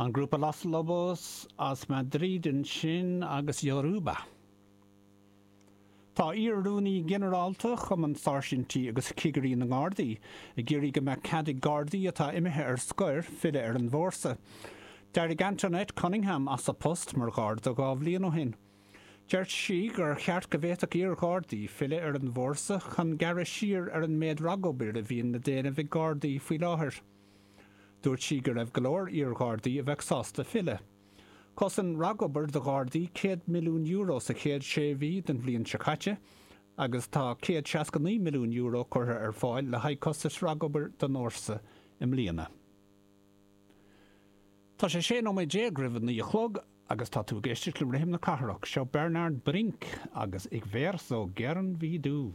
An grúpa Los Lobos as Madrid ansin agus Yoruba. Tá iar-Rúnaí Ginearálta Chumann Sáirsintí agus Cigirí na nGardaí ag iarraidh go mbeadh cead ag Gardaí atá imithe ar scoir filleadh ar an bhfórsa. D'éirigh Antoinette Cunningham as a post mar Gharda 2 bhliain ó shin. Deir sí gur cheart go bhféadfadh iar-Ghardaí filleadh ar an bhfórsa chun gearradh siar ar an méid ragobair a bhíonn le déanamh ag Gardaí faoi láthair. Dúirt sí go raibh go leor iar-Ghardaí a bheadh sásta filleadh. Chosain ragobair do Ghardaí €100 milliún sa chéad sé mhí den bhliain seo caite agus tá €169 milliún curtha ar fáil le haghaidh costais ragobair don fhórsa i mbliana. Tá sé 16 nóiméad roimh a 9 a chlog agus tá tú ag éisteacht le Rithim na Cathrach. Seo Bernhard Brink agus Ich wär so gern wie du.